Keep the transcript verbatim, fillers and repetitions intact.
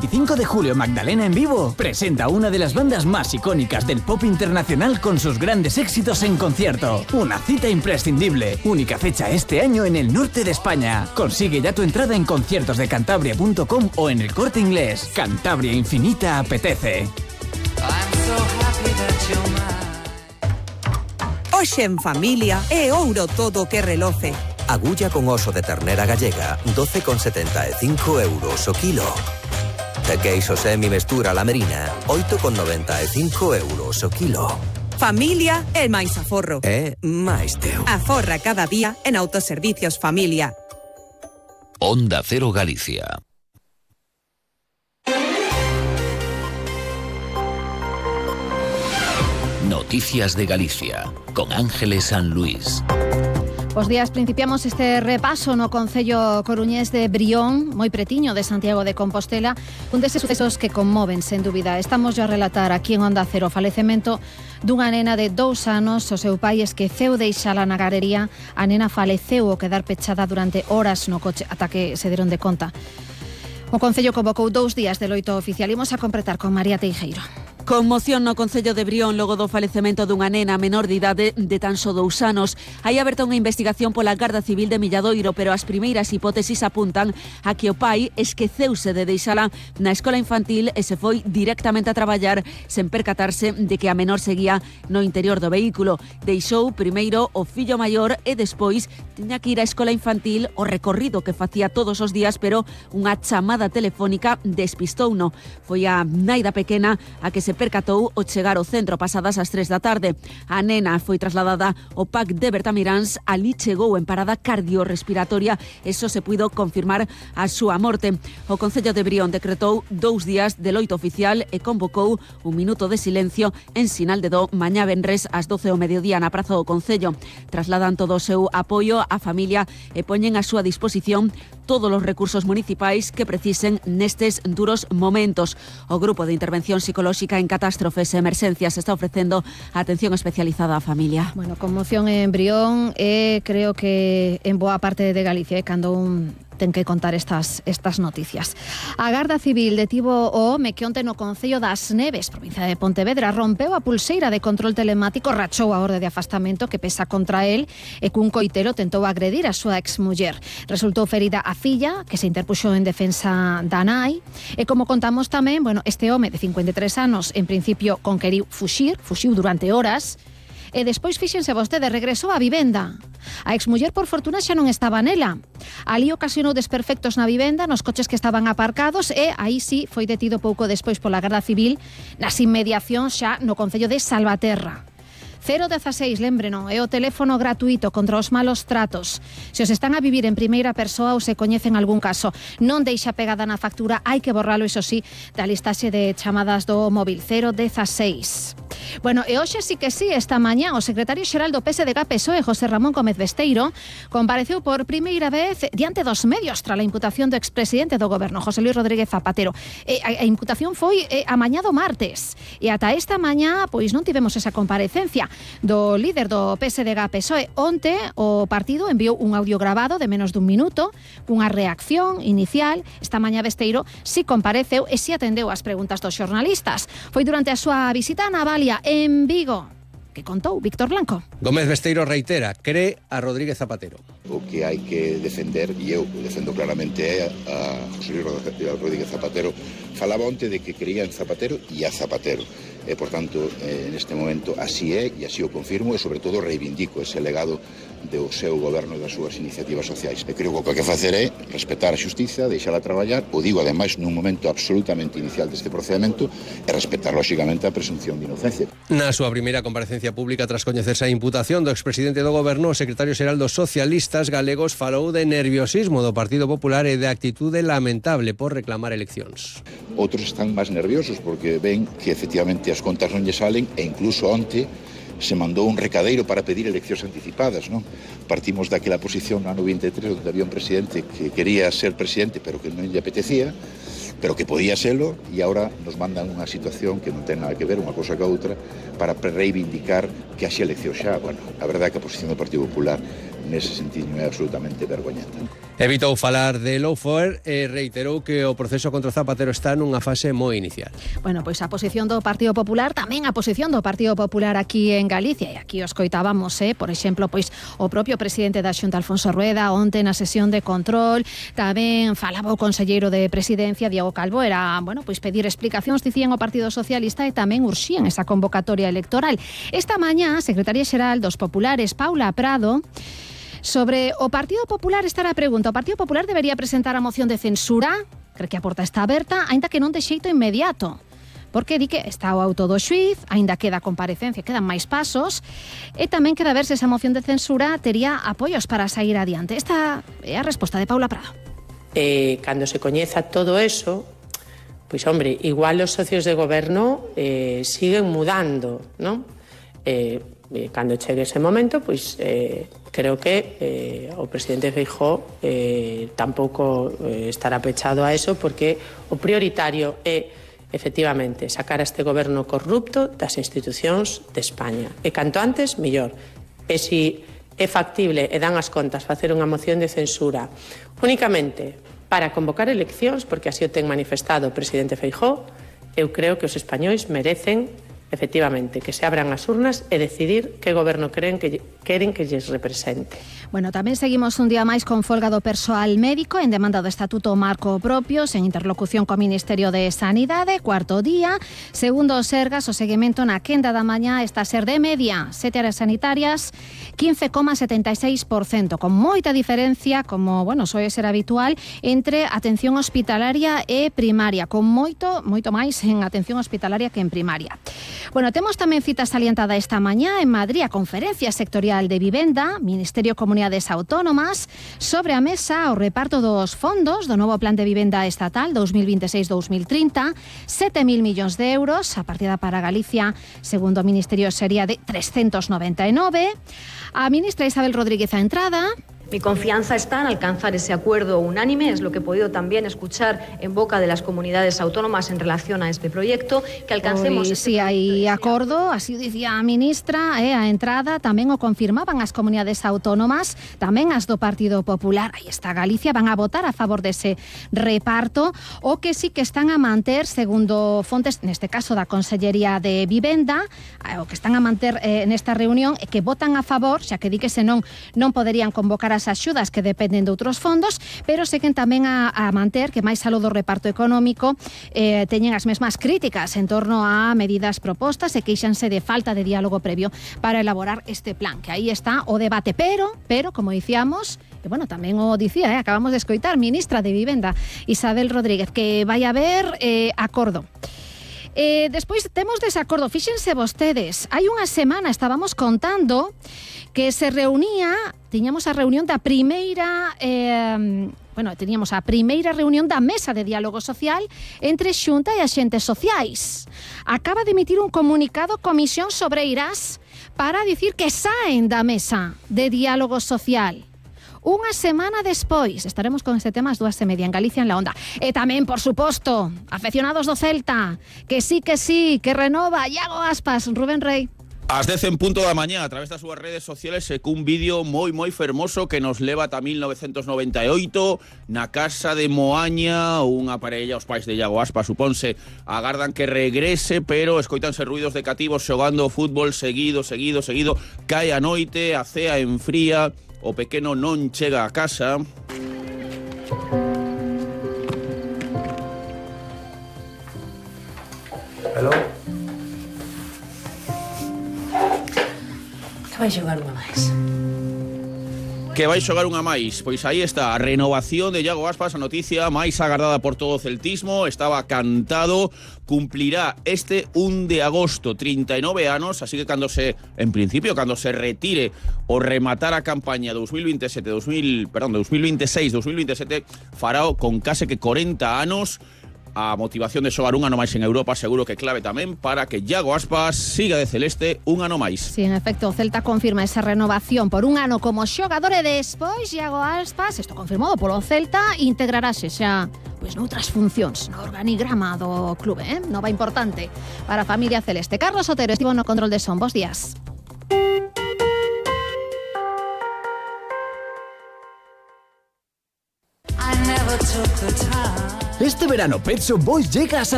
veinticinco de julio, Magdalena en Vivo presenta una de las bandas más icónicas del pop internacional con sus grandes éxitos en concierto. Una cita imprescindible. Única fecha este año en el norte de España. Consigue ya tu entrada en conciertos de cantabria punto com o en el Corte Inglés. Cantabria Infinita apetece. Hoxe en familia é ouro todo que reloce. Agulla con oso de ternera gallega, doce con setenta e cinco euros o kilo. De queixo semi mestura lamerina, oito con noventa e cinco euros o kilo. Familia é máis aforro. É máis teu. Aforra cada día en Autoservicios Familia. Onda Cero Galicia. Noticias de Galicia, con Ángeles San Luis. Bos días, principiamos este repaso no concello coruñés de Brión, moi pretiño de Santiago de Compostela, un deses sucesos que conmoven, sen dúbida. Estamos a relatar aquí en Onda Cero o falecemento dunha nena de dous anos. O seu pai esqueceu deixala na galería. A nena faleceu ao quedar pechada durante horas no coche ata que se deron de conta. O concello convocou dous días de loito oficial. Imos a completar con María Teijeiro. Conmoción no concello de Brión logo do falecemento dunha nena menor de idade de tan só dous anos. Hai aberta unha investigación pola Garda Civil de Milladoiro, pero as primeiras hipótesis apuntan a que o pai esqueceuse de deixala na escola infantil e se foi directamente a traballar sen percatarse de que a menor seguía no interior do vehículo. Deixou primeiro o fillo maior e despois tiña que ir á escola infantil, o recorrido que facía todos os días, pero unha chamada telefónica despistouno. Foi a nai da pequena a que se percatou ao chegar ao centro pasadas as tres da tarde. A nena foi trasladada ao P A C de Bertamiráns. Ali chegou en parada cardiorrespiratoria. Eso se puido confirmar a súa morte. O Concello de Brión decretou dous días de loito oficial e convocou un minuto de silencio en sinal de do mañá venres ás doce do mediodía na Praza do Concello. Trasladan todo o seu apoio á familia e poñen a súa disposición todos os recursos municipais que precisen nestes duros momentos. O Grupo de Intervención Psicolóxica en Catástrofes e Emerxencias está ofrecendo atención especializada á familia. Bueno, conmoción en Brión e creo que en boa parte de Galicia é cando un ten que contar estas estas noticias. A Garda Civil detivo o home que onte no concello das Neves, provincia de Pontevedra, rompeu a pulseira de control telemático, rachou a orde de afastamento que pesa contra el e cun coitelo tentou agredir a súa exmuller. Resultou ferida a filla, que se interpuxo en defensa da nai, e como contamos tamén, bueno, este home de cincuenta e tres anos en principio conqueriu fuxir, fuxiu durante horas, e despois, fíxense vostede, regresou á vivenda. A exmuller, por fortuna, xa non estaba nela. Ali ocasionou desperfectos na vivenda, nos coches que estaban aparcados, e aí sí foi detido pouco despois pola Garda Civil nas inmediacións xa no concello de Salvaterra. cero dieciséis, lembreno, é o teléfono gratuito contra os malos tratos. Se os están a vivir en primeira persoa ou se coñecen algún caso, non deixa pegada na factura, hai que borralo, iso sí, da listaxe de chamadas do móvil. Cero dieciséis. Bueno, e hoxe sí que sí, esta mañá o secretario xeral do P S D G P S O E, José Ramón Gómez Besteiro, compareceu por primeira vez diante dos medios tras a imputación do expresidente do goberno, José Luis Rodríguez Zapatero. E a, a imputación foi e, a mañá do martes. E ata esta mañá, pois non tivemos esa comparecencia do líder do P S D G P S O E. Onte o partido enviou un audio grabado de menos dun minuto, cunha reacción inicial. Esta mañá Besteiro si compareceu e si atendeu as preguntas dos xornalistas. Foi durante a súa visita a Navalia, en Vigo, que contou Víctor Blanco. Gómez Besteiro reitera, cree a Rodríguez Zapatero. O que hai que defender, e eu defendo claramente é a José Luis Rodríguez Zapatero. Falaba onte de que creía en Zapatero e a Zapatero. E, por tanto, eh, neste momento así é, e así o confirmo, e sobre todo reivindico ese legado do seu goberno e das súas iniciativas sociais. E creo que o que hai que facer é respetar a xustiza, deixala traballar, o digo ademais nun momento absolutamente inicial deste procedimento, e respetar lóxicamente a presunción de inocencia. Na súa primeira comparecencia pública tras coñecerse a imputación do expresidente do goberno, o secretario xeral dos socialistas galegos falou de nerviosismo do Partido Popular e de actitude lamentable por reclamar eleccións. Outros están máis nerviosos porque ven que efectivamente as contas non lle salen, e incluso onte se mandou un recadeiro para pedir eleccións anticipadas, non? Partimos daquela posición no ano vinte e tres, onde había un presidente que quería ser presidente pero que non lle apetecía, pero que podía serlo, e agora nos mandan unha situación que non ten nada que ver unha cosa ca outra para reivindicar que haxe eleccións xa. Bueno, a verdade é que a posición do Partido Popular nese sentido é absolutamente vergoñenta. Evitou falar de lawfare e reiterou que o proceso contra Zapatero está nunha fase moi inicial. Bueno, pois a posición do Partido Popular, tamén a posición do Partido Popular aquí en Galicia, e aquí os coitábamos, eh, por exemplo, pois o propio presidente da Xunta, Alfonso Rueda, onte na sesión de control, tamén falaba o conselleiro de Presidencia, Diego Calvo, era, bueno, pois pedir explicacións, dicían o Partido Socialista, e tamén urxían esa convocatoria electoral. Esta mañá, a secretaria xeral dos Populares, Paula Prado, sobre o Partido Popular está a pregunta. O Partido Popular debería presentar a moción de censura, cree que a porta está aberta, aínda que non de xeito inmediato, porque di que está o auto do xuíz, aínda queda comparecencia, quedan máis pasos, e tamén queda ver se esa moción de censura tería apoios para sair adiante. Esta é a resposta de Paula Prado. Eh, cando se coñeza todo eso, pois, hombre, igual os socios de goberno eh, siguen mudando, non? Eh, cando chegue ese momento, pois eh, creo que eh, o presidente Feijóo eh, tampouco eh, estará pechado a eso, porque o prioritario é efectivamente sacar a este goberno corrupto das institucións de España, e canto antes mellor. E si é factible e dan as contas facer unha moción de censura únicamente para convocar eleccións, porque así o ten manifestado o presidente Feijóo, eu creo que os españois merecen efectivamente que se abran as urnas e decidir que goberno creen que queren que lles represente. Bueno, tamén seguimos un día máis con folga do persoal médico en demanda do Estatuto Marco Propio, sen interlocución co Ministerio de Sanidade. Cuarto día, segundo o Sergas, o seguimento na quenda da mañá está a ser de media sete áreas sanitarias, quince coma setenta e seis por cento, con moita diferencia, como, bueno, soe ser habitual, entre atención hospitalaria e primaria, con moito, moito máis en atención hospitalaria que en primaria. Bueno, temos tamén cita salientada esta mañá en Madrid, a Conferencia Sectorial de Vivenda, Ministerio e Comunidades Autónomas, sobre a mesa o reparto dos fondos do novo Plan de Vivenda Estatal dos mil vinte e seis a dos mil trinta, sete mil millóns de euros, a partida para Galicia, segundo o Ministerio, sería de trescentos noventa e nove. A ministra Isabel Rodríguez a entrada. Mi confianza está en alcanzar ese acuerdo unánime, es lo que he podido también escuchar en boca de las comunidades autónomas en relación a este proyecto, que alcancemos... Pois, este si hai acordo, así o dicía a ministra, eh, a entrada tamén o confirmaban as comunidades autónomas, tamén as do Partido Popular. Aí está Galicia, van a votar a favor dese reparto, o que sí que están a manter, segundo fontes, neste caso da Consellería de Vivenda, o que están a manter eh, nesta reunión, e que votan a favor, xa que di que senón non poderían convocar a as axudas que dependen de outros fondos, pero seguen tamén a, a manter que máis aló do reparto económico eh, teñen as mesmas críticas en torno a medidas propostas e queixanse de falta de diálogo previo para elaborar este plan, que aí está o debate, pero, pero como dicíamos, e bueno, tamén o dicía, eh, acabamos de escoitar, ministra de Vivenda, Isabel Rodríguez, que vai haber eh, acordo. Eh, despois temos desacordo, fíxense vostedes, hai unha semana estábamos contando que se reunía, tiñamos a reunión da primeira, eh, bueno, teníamos a primeira reunión da Mesa de Diálogo Social entre Xunta e axentes sociais. Acaba de emitir un comunicado Comisión Sobreiras para dicir que saen da Mesa de Diálogo Social. Unha semana despois, estaremos con este tema ás dúas e media en Galicia en la Onda. E tamén, por suposto, afeccionados do Celta, que sí, que sí, que renova Iago Aspas, Rubén Rey. Ás dez en punto da mañá, a través das súas redes sociales, secou un vídeo moi, moi fermoso que nos leva ata mil novecentos noventa e oito, na casa de Moaña, unha parella, os pais de Iago Aspas, supónse, agardan que regrese, pero escoitanse ruidos de cativos xogando fútbol seguido, seguido, seguido, cae a noite, a cea enfría, o pequeno non chega a casa. Hello? Que vai xogar unha máis. Que vai xogar unha máis. Pois aí está, a renovación de Iago Aspas, a noticia máis agardada por todo o celtismo, estaba cantado, cumplirá este un de agosto, trinta e nove anos, así que cando se, en principio, cando se retire o rematar a campaña dos mil vinte e sete, dos mil, perdón, dos mil vinte e seis, dos mil vinte e sete, farao con case que corenta anos. A motivación de xogar un ano máis en Europa seguro que clave tamén para que Iago Aspas siga de celeste un ano máis. Sí, en efecto, o Celta confirma esa renovación por un ano como xogador e despois Iago Aspas, isto confirmado polo Celta, integrarase xa pois noutras funcións no organigrama do clube, eh? Nova importante para a familia celeste. Carlos Otero estivo no control de son. Bos días. Este verano Pet Shop Boys llega a San